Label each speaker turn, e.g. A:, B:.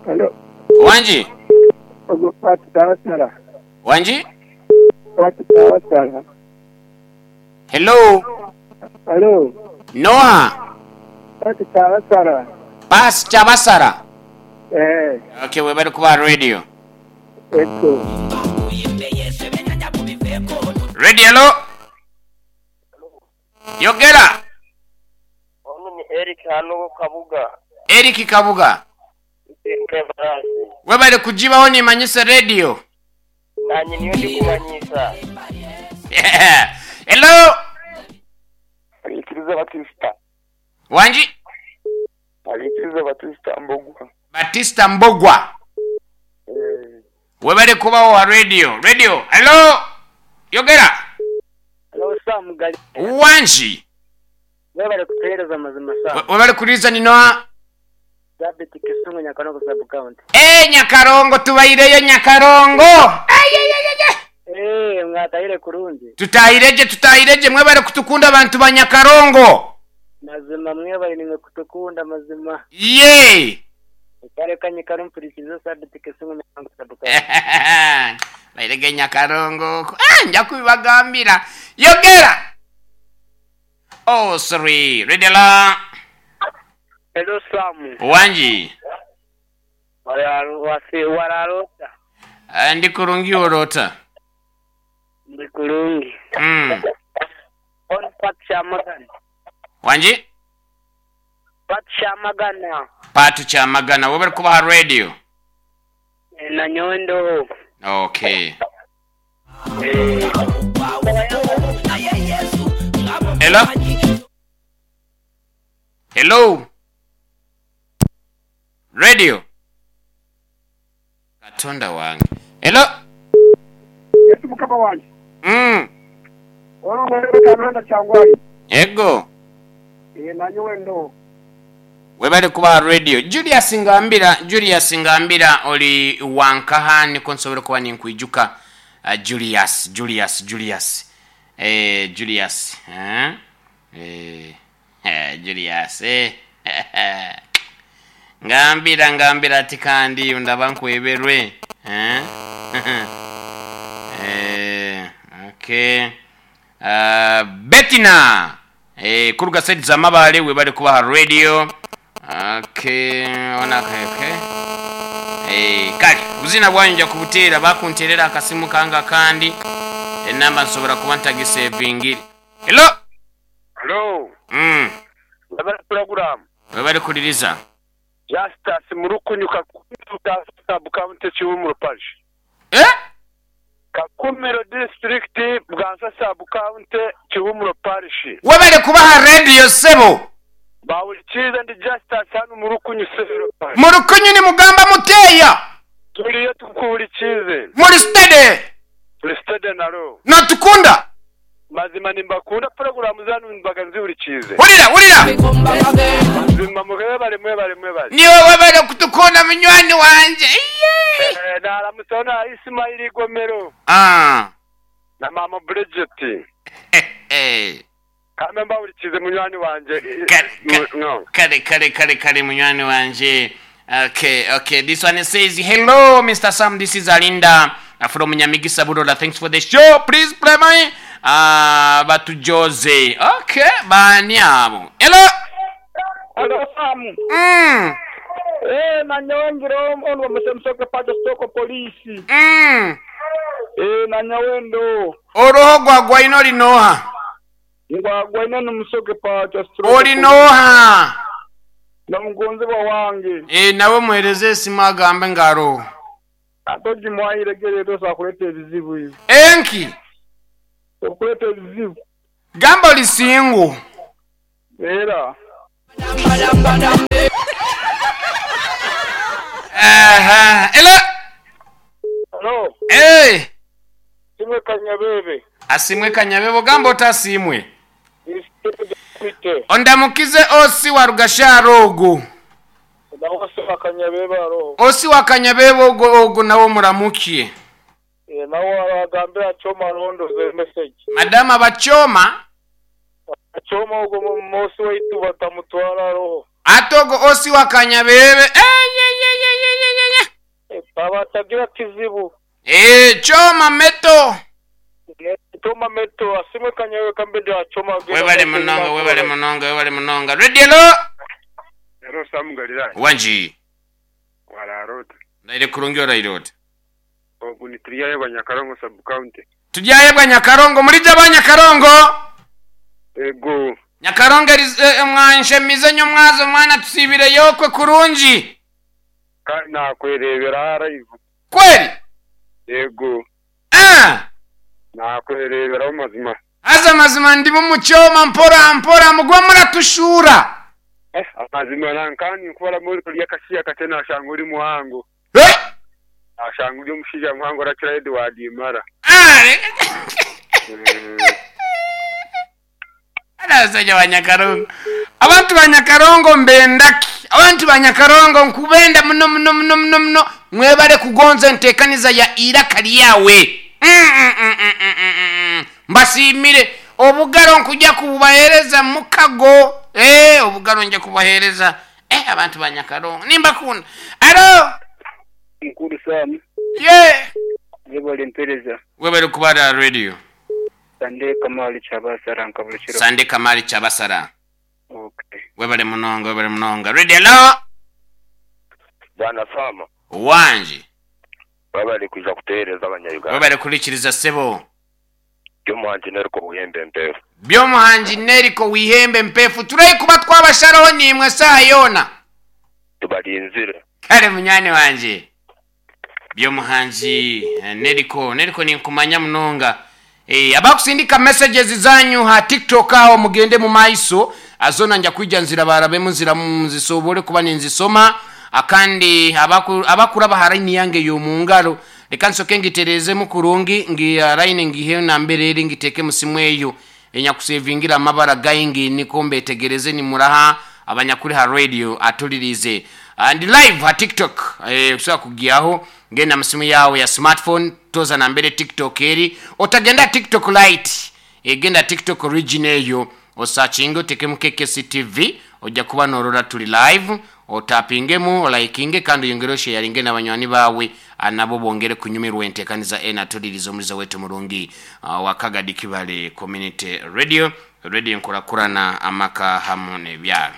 A: Halo.
B: Wangi.
A: Ogwo Pastor Wasala.
B: Wangi.
A: Pastor Wasala.
B: Hello.
A: Halo.
B: Noha?
A: Pastor Basara.
B: Pastor Basara.
A: Eh.
B: Okay, webale kuba radio.
A: Eko.
B: Radio hello. Yogera.
C: Ono ni Eric hano Kabuga.
B: Eric Kabuga. Webale kujibaho nimanyisa radio.
C: Nanye niyo ndi kumanyisa.
B: Hello.
D: Alikiriza Batista.
B: Wangi.
D: Alikiriza Batista Mbogwa.
B: Batista Mbogwa.
D: Eh.
B: Webale kubaho wa radio. Radio. Hello. Yogera.
E: Hello Sam Gali.
B: Wangi.
E: Webale kutuhereza mazima Sam.
B: Webale kuliza ninoa.
E: Dabit Kisungu Nyakarongo sub county.
B: Eh Nyakarongo tubaireyo Nyakarongo. Ay ay ay ay.
E: Eh mwatahire kurungi.
B: Tutahireje tutahireje mwebale kutukunda abantu ba Nyakarongo.
E: Mazima mwebale nimwe kutukunda mazima.
B: Ye.
E: Kare kanyikaro mpurikiza Sabit Kisungu Nyakarongo sub county.
B: Bairege Nyakarongo. Ah nja kubibagambira. Yogera. Oh sorry. Redela.
E: Hello Sam.
B: Wangi.
E: Wararota.
B: Ndi kurungi orota.
E: Ndi kurungi. On Pat Shamagana.
B: Wangi?
E: Pat Shamagana.
B: Patu Chamagana. Webale kubaha radio.
E: Na nyondo.
B: Okay. Hello? Hello? Radio? Katonda wange. Hello?
A: Yesu mukama wange. Ono mwere kananda kyangwali.
B: Ego.
A: Eh nanyowe ndo.
B: Webale kuba radio. Julius Ngambira, Julius Ngambira oli wankaha niko nsobora kuba ninkwijuka. Julius, Julius, Julius. Eh Julius, eh? Eh, Julius, eh. Ngambira ngambira ati kandi ndaba nkweberwe. Eh? Eh, okay. Betina. Eh, kuruga side za Mabale webale kubaha radio. Okay, ona okay. Eh, kale buzina bwanyu nja kubuteera bakunterera akasimu kanga kandi enamba nsobola kuba ntagisevingire. Hello.
D: Hello. Webale program.
B: Webale kuliriza.
D: Justus Murukunyu Kakumiro sub county Kiwumuro parish.
B: Eh?
D: Kakumiro district Bwansa sub county Kiwumuro parish.
B: Webale kubaha radio sebo.
D: Bawulikiza ndi Justus hano Murukunyu sero.
B: Murukunyu ni mugamba muteya.
D: Tuliyo tukuwulikize.
B: Muri steady.
D: Turi steady naro.
B: Natukunda.
D: Mazima nimbakunda programu zanu mbaga nziwulikize.
B: Wulira wulira.
D: Mazima mwebale mwebale mwebale.
B: Niwe webale kutukunda munywani wanje.
D: Eh naramusona Ismail Gomero.
B: Ah.
D: Na mama Bridget.
B: Eh.
D: Kame mbawulikize munywani wanje.
B: Kare kare kare kare kare munywani wanje. Okay, okay. This one says, hello, Mr. Sam. This is Alinda from Nyamigisa Budola. Thanks for the show. Please play my Batu Jose. Okay, bani abo. Hello.
F: Hello, Sam. Eh, nanyongero ono musemsoke pajo stoko polisi. Eh, nanyawendo.
B: Oroho gwagwa ino linoha.
F: Ngwagwa ino numusoke pajo stoko.
B: Olinoha.
F: Na mugonzebwa wange.
B: Eh, nawe muhereze esimu agambe ngaro.
F: Atoji mwayiregere tosa kuleta ebizibu hivi.
B: Enki.
F: Okuleta ebizibu.
B: Gamba oli single.
F: Era.
B: Aha. Hello.
F: Hello.
B: Eh.
F: Simwe Kanyabebe.
B: Asimwe Kanyabebe gamba otasimwe. Ondamukize osi wa Rugasharo ogo.
F: Osi wa Kanyabebe aro.
B: Osi wa Kanyabebe ogo ogo nawo muramukie.
F: Eh nawo abagambira choma rondo ze message.
B: Madama bachoma.
F: Choma ogo mosi waitu batamutwara roho.
B: Atogo osi wa Kanyabebe. Eh ye ye ye ye ye.
F: Aba atagira kizibu.
B: Eeh Choma meto.
F: Choma meto asimwe kanyewe kambe ndi aha Choma agenda
B: Webale
F: mumaiso
B: munonga
F: enyima
B: webale
F: akora.
B: munonga webale munonga. Radio hello.
D: Hello Sam Galilaya.
B: Wangi.
D: Waraara ota?
B: Ndaire kurungi oraire ota?
D: Ogu ni Turyayebwa Nyakarongo sub county.
B: Turyayebwa Nyakarongo murigye aba Nyakarongo?
D: Ego.
B: Nyakarongo eri mwanshemize nyomwazo mwana tusiibire yokwe kurungi.
D: Kandi nakwerebera aha live.
B: Kweri?
D: Ego.
B: Ah!
D: Nakwereberaho mazima.
B: Haza mazima ndimu omu kyoma mpora mpora mugume muratushuura.
D: Eh amazima nanka ninkubaramu orikurya akashiya kakye nashanga ori muhango.
B: Eh!
D: Nashanga ori omushaija muhango orakira Edward Mara.
B: Ah! Abashaija ba Nyakarongo. Abantu ba Nyakarongo mbendaki. Abantu ba Nyakarongo nkubenda muno muno muno muno muno. Mwebale kugonza entekaniza ya Iraka Ryawe. Mm-mm-mm-mm-mm-mm. Mbasiimire. Obugaro nkuja kububahereza mukago. Eh, obugaro nja kububahereza. Eh, abantu ba Nyakarongo. Nimbakunda. Alo!
E: Mukuru Sam.
B: Ye!
E: Yebale mpereza.
B: Webale kubara radio.
E: Sande Kamali Kyabasara nka buli kiro.
B: Sande Kamali Kyabasara.
E: Okay.
B: Webale munonga, webale munonga. Radio hello.
C: Bwana Sam.
B: Wangi.
C: Webale kwija kuteereza abanya-Uganda.
B: Webale kurikiriza sebo.
C: Byomuhangi Neriko Wihembe Mpefu.
B: Byomuhangi Neriko Wihembe Mpefu. Turahi kuba twabasharaho niimwe esaaha yoona.
C: Tubarinzire.
B: Kare munywani wangye. Byomuhangi Neriko. Neriko ninkumanya munonga. Eh, abakusindika messages zanyu ha TikTok aho mugende mu maiso azona nja kwija nzirabarabemu nziramu nzisobole kuba ninzisoma akandi abaku, abakuraba ha line yange y'omungaro reka nsoke ngiterezemu kurungi ngi line ngihe nambere eri ngiteke musimu eyo enyakusevingira amabara gaingi niko mbetegereze nimuraha abanyakuri ha radio atulirize and live ha tiktok eh, kusobola kugyaho genda musimu yawe ya smartphone toza nambere tiktok eri otagenda tiktok lite eh, genda tiktok origin eyo osakinge otekemu kkctv ojja kuba norora turi live otapingemu olikinge kandi oyongere osheyaringe nabanywani bawe nabo bongere kunyumirwa entekaniza ena atuliriza omuliza wetu murungi uh, wa Kagadi Kibale Community Radio radio enkurakurana amaka hamu nebyaro.